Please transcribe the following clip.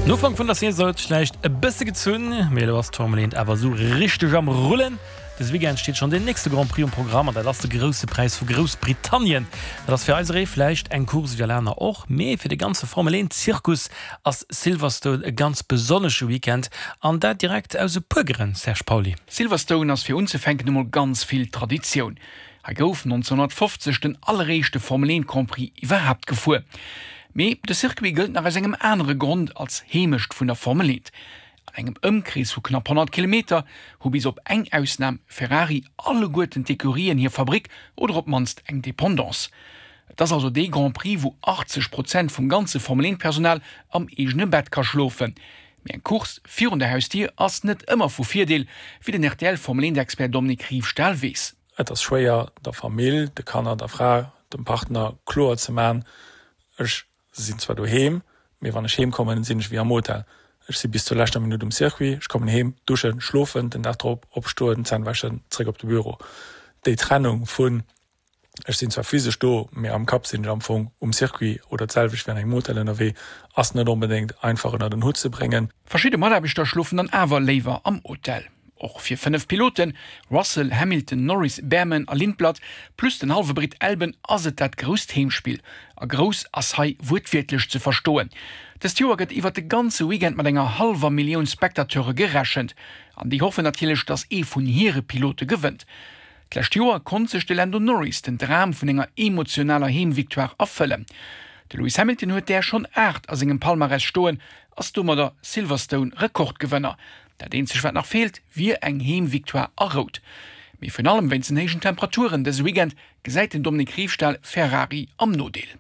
Den Ufank vun der Saison huet sech vläicht e bësse gezunn, mee elo ass d'Formel 1 awer esou richteg am Rullen. Dëse Weekend steet schonn deen nächste Grand Prix um Programm an dat ass de Grousse Präis vu Groussbritannien. Dat ass fir eiseree vläicht eng Course wéi all aner och, mee fir de ganze Formel 1 Zirkus ass Silverstone e ganz besonnesche Weekend an dat direkt aus e puer Grënn, Serge Pauly. Silverstone ass fir unzefänken emol ganz vill Traditioun. Hei gouf 1950 den alleréischte Formel 1 Grand Prix iwwerhaapt gefuer. Mee de Circuit gëllt nach aus engem anere Grond als Heemecht vun der Formel 1. An engem Ëmkrees vu knapp 100 Kilometer hu bis op eng Ausnam Ferrari alleguerten d'Ecurien hir Fabrick oder op d'mannst eng Dependance. Et ass also dee Grand Prix, wou 80 Prozent vum ganze Formel 1 Personal am eegene Bett ka schlofen. Mee eng Course virun der Hausdier ass net ëmmer vu Virdeel, wéi den rtl Formel 1 Expert Dominique Riefstahl weess. Et ass schwéier der Famill, de Kanner, der Fra, dem Partner kloer ze man, ech sinn zwar doheem, mee wann ech heem kommen, sinn ech wéi am Hotel. Ech si bis zur leschter Minutt um Circuit, ech kommen heem, duschen, schlofen, den Dag drop opstoen, Zänn wäschen, zréck op de Büro. Déi Trennung vun ech sinn zwar physesch do, mee am Kapp sinn ech am Fong um Circuit oder d'selwecht wéi an engem Hotel ënnerwee, ass net onbedéngt einfach ënnert en Hutt ze bréngen. Verschidde Mataarbechter schlofen dann awer léiwer am Hotel. Och fir 5 Piloten, Russell, Hamilton, Norris, Bearman a Lindblad, plus den hallwe Britt Albon ass et dat grousst Heemspill. A grouss ass hei wuertwiertlech ze verstoen. Dëst Joer gëtt iwwert de ganze Weekend mat enger hallwer Millioun Spectateure gerechent. An déi hoffen natierlech, datt ee vun hire Pilote gewënnt. D'lescht Joer konnt sech de Lando Norris den Dram vun enger emotionaler Heemvictoire erfëllen. De Lewis Hamilton huet där schonn 8 a sengem Palmarès stoen, ass domadder Silverstone-Rekordgewënner. Dat eenzegt wat nach feelt, wier eng Heemvictoire a Rout. Mee virun allem wéinst den héijen Temperaturen dëse Weekend gesäit den Dominique Riefstahl Ferrari am Nodeel.